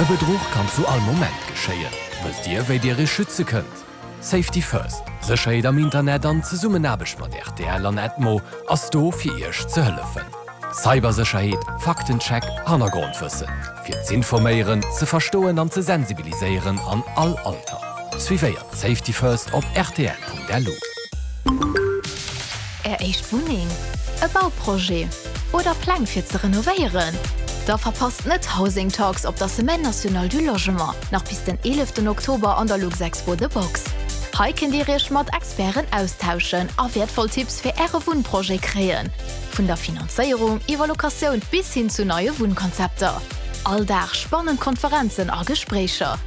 E Bedruch kann zu all Moment geschéien. Wësst Dir, wéi Dir Iech schütze kënnt? Safety First, Sécherheet am Internet an Zesummenaarbecht mat rtl an Edmo ass do fir Iech ze hëllefen. Cybersécherheet, Faktencheck, Hannergrondwëssen. Fir z'informéieren, ze verstoen an ze sensibiliséieren an all Alter. Suivéiert Safety First op rtl.lu. Är éischt Wunneng, e Bauprojet oder Pläng fir ze renovéieren? Da verpasst net Housing Talks op der Semaine Nationale du Logement, nach bis den 11 Oktober an der Luxexpo The Box. Hei kënnt Dir Iech mat Experten austauschen a wäertvoll Tipps fir Äre Wunnprojet kréien, vun der Finanzéierung iwwer Locatioun bis hin zu neie Wunnkonzepter. All Dag spannend Konferenzen a Gespréicher.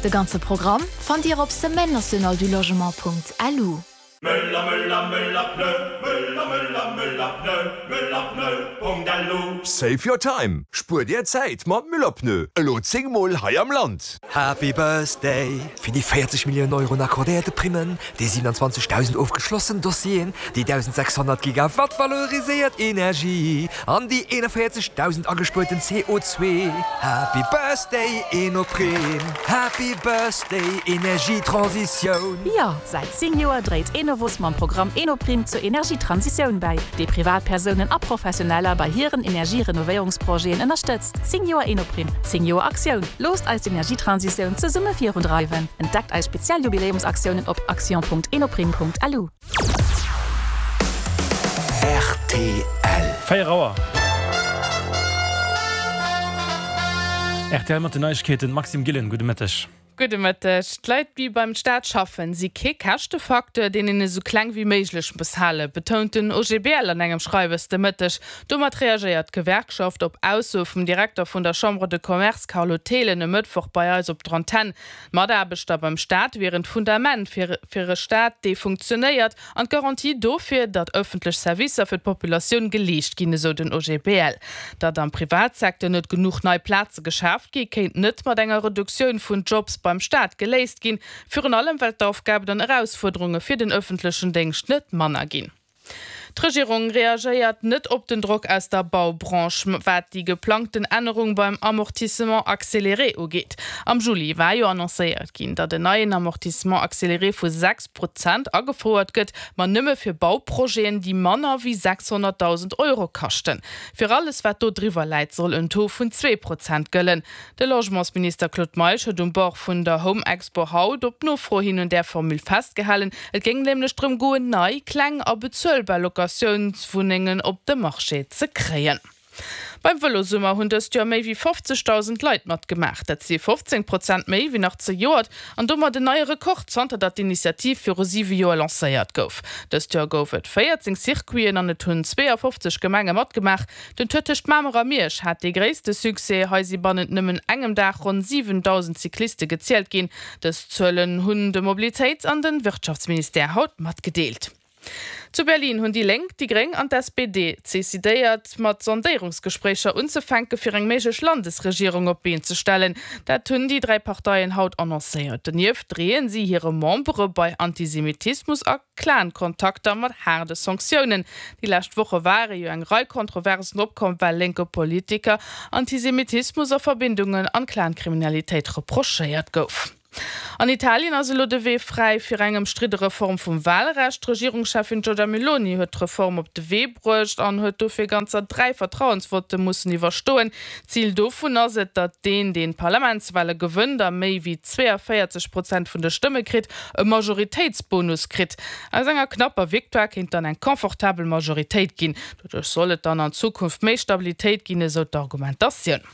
De ganze Programm fannt Dir op semaine-nationale-du-logement.lu. Möller, Möller, Möller, Pneu, Möller, Möller, Möller, Pneu, Möller, Pneu, Punkt lu. Save your time! Spuer dir Zäit mat Müller Pneu, elo 10 mol hei am Land! Happy Birthday! Fir déi 40 Milliounen Euro un accordéierte Primmen, déi 27.000 ofgeschlossen Dossieren, déi 1.600 Gigawatt valoriséiert Energie an déi 41.000 agespuerten CO2. Happy Birthday Enoprime! Happy Birthday Energietransitioun! Jo, säit 10 Joer dréit Enovos mam Programm Enoprime zur Energietransitioun bäi, dee Privatpersounen a Professioneller bei hiren Energierenovéierungsprojeten ënnerstëtzt. 10 Joer Enoprime, 10 Joer Aktioun! Loosst eis d'Energietransitioun zesumme virundreiwen! Entdeckt eis speziell Jubiläumsaktiounen op action.enoprime.lu. Rtl. 4 Auer. Rtl mat den Neiegkeeten, Maxime Gillen, gudde Mëtteg. Gudde Mëtteg. D'Leit, déi beim Staat schaffen, si kee Käschtefacteur, deen een esou kleng wéi méiglech muss halen, betount den OGBL an engem Schreiwes de Mëtteg. Domat reagéiert d'Gewerkschaft op Aussoe vum Direkter vun der Chambre de Commerce Carlo Thelen e Mëttwoch bei eis op der Antenn. D'Mataarbechter beim Staat wieren d'Fundament fir fir e Staat, dee funktionéiert, an d'Garantie dofir, datt ëffentlech Servicer fir d'Populatioun geleescht ginn, esou den OGBL. Datt am Privatsecteur net genuch nei Plaze geschaaft gi, kéint net mat enger Reduktioun vun Jobs beim Staat geléist ginn, virun allem well d'Aufgaben an Erausfuerderunge fir den ëffentlechen Déngscht net manner ginn. D'Regierung reagéiert net op den Drock aus der Baubranche, wat déi geplangten Ännerung beim Amortissement accéléré ugeet. Am Juli war jo annoncéiert ginn, datt en neien Amortissement accéléré vu 6 Prozent agefouert gëtt, ma nëmme fir Bauprojeten, déi manner wéi 600.000 Euro kaschten. Fir alles, wat do driwwer läit, soll en Taux vun 2 Prozent gëllen. De Logementsminister Claude Meisch huet um Bord vun der Home Expo haut op Nofro hin un där Formule festgehalen. Et géing nämlech drëm goen, nei, kleng a bezuelbar Locatiounswunnengen op de Marché ze kréien. Beim Vëlosummer hunn dëst Joer méi wéi 50.000 Leit matgemaach. Dat si 15 Prozent méi wéi nach zejoert an domat en neie Rekord, zanter datt d'Initiativ viru siwe Joer lancéiert gouf. Dëst Joer gouf et 14 Circuiten an et hunn 52 Gemenge matgemaach. Den Tour tëscht Mamer a Miersch hat dee gréisste Succès. Hei si bannent nëmmen engem Dag ronn 7.000 Cycliste gezielt ginn. Dës Zuelen hunn de Mobilitéits an de Wirtschaftsministère haut matgedeelt. Zu Berlin hunn déi Lénk, déi Gréng an d'SPD decidéiert, mat Sondéierungsgespréicher unzefänke fir eng méiglech Landesregierung op d'Been ze stellen. Dat hunn déi 3 Parteien haut annoncéiert. Donieft dreeën si hire Membere bei Antisemitismus a Clan-Kontakter mat haarde Sanktiounen. Déi lescht Woche ware jo eng Rei Kontroversen opkomm, well lénke Politiker Antisemitismus a Verbindungen an Clan-Kriminalitéit reprochéiert gouf. An Italien ass elo de Wee fräi fir eng ëmstridde Reform vum Walrecht. D'Regierungscheffin Giorgia Meloni huet d'Reform op de Wee bruecht an huet dofir ganzer 3 Vertrauensvotte mussen iwwerstoen. Zil dovun ass et, datt deen, deen d'Parlamentswale gewënnt a méi wéi 42 Prozent vun de Stëmme kritt, e Majoritéitsbonus kritt. Aus enger knapper Victoire kéint dann eng confortabel Majoritéit ginn. Doduerch soll et dann an Zukunft méi Stabilitéit ginn, esou d'Argumentatioun.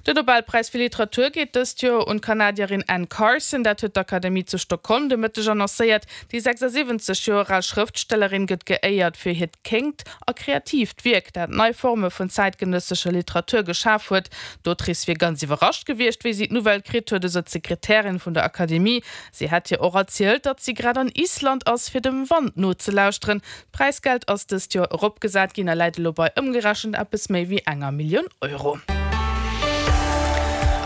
Den Nobelpräis fir Literatur geet dëst Joer un d'Kanadierin Anne Carson. Dat huet d'Akademie zu Stockholm de Mëtteg annoncéiert. Déi 76 Joer al Schrëftstellerin gëtt geéiert fir hiert kéngt a kreatiivt Wierk, dat nei Forme vun zäitgenëssescher Literatur geschaf huet. D'Autrice wier ganz iwwerrascht gewiescht, wéi si d'Nouvelle kritt huet, esou d'Sekretärin vun der Akademie. Si hätt hir och erzielt, datt si grad an Island ass, fir dem Wand nozelauschteren. D'Präisgeld ass dëst Joer eropgesat ginn a läit elo bei ëmgerechent eppes méi wéi enger Millioun Euro.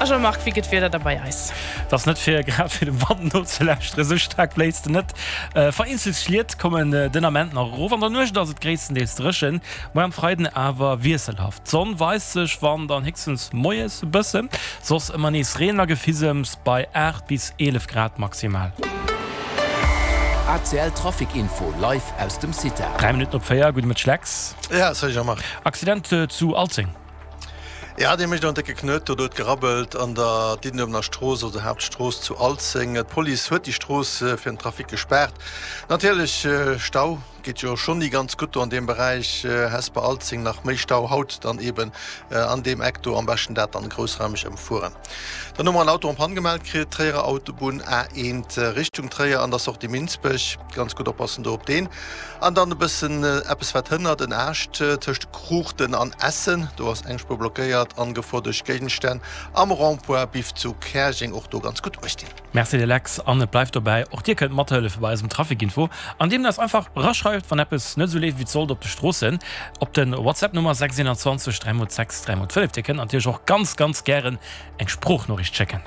A Jean-Marc, wéi gëtt d'Wieder da bei eis? Et ass net fir grad fir dem Wand nozelauschteren, esou staark bléist en net. Vereenzelt Schliet kommen den Ament nach erof. An der Nuecht ass et gréisstendeels dréchen, muer am Freiden awer wiesselhaft. D'Sonn weist sech, wann dann héchstens moies e bëssen, soss ëmmer nees Reen a Gefisems bei 8 bis 11 Grad maximal. ACL Trafic Info live aus dem CITA. 3 Minutten op 4, gudde Mëtteg Lex. Ja, salut Jean-Marc. Accident zu Alzeng. Ja, dee mécht en décke Knuet. Do huet gerabbelt an der Diddenuewener Strooss, also der Haaptstrooss zu Alzeng. D'Police huet déi Strooss fir den Trafic gespaart. Natierlech Stau geet jo schonn ni ganz gutt do an deem Beräich Hesper-Alzeng. Nach méi Stau haut dann eben an deem Eck do. Am beschten dat dann groussraimeg ëmfueren. Dann hu mer en Auto en panne gemellt kritt, Tréierer Autobunn A1 Richtung Tréier an der Sortie Minsbech. Ganz gutt oppassen do op deen. An dann e bëssen eppes wat hënnert, en Aascht tëscht Kruuchten an Essen, do ass eng Spuer blockéiert an Gefor duerch Géigenstänn am Rond-point Biff zu Käerjeng, och do ganz gutt uecht dinn. Merci dir Lex, an et bleift dobäi, och dir kënnt mathëllefe bei eisem Traficinfo, andeem der eis einfach eraschreift wann eppes net esou leeft wéi et sollt op de Stroossen, op den WhatsApp Nummer 621 3 x 6 3 x 5. Dir kënnt natierlech och ganz ganz gären eng Sproochnoriicht schécken.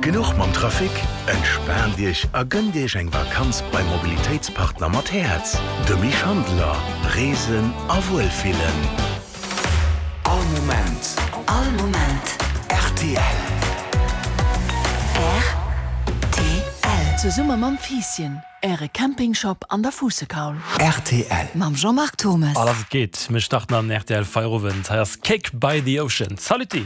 Genuch mam Trafic? Entspaant Iech a gënnt Iech eng Vakanz beim Mobilitéitspartner mat Häerz, dem Misch Handeler. Reesen a Wuelfillen. All Moment. All Moment. Rtl. Rtl. Zesumme mam Fiisschen, Äre Campingshop an der Fuussekaul. Rtl. Mam Jean-Marc Thommes. A lass et geet, mir starten an rtl Feierowend. Hei ass Cake by the Ocean. Saluti!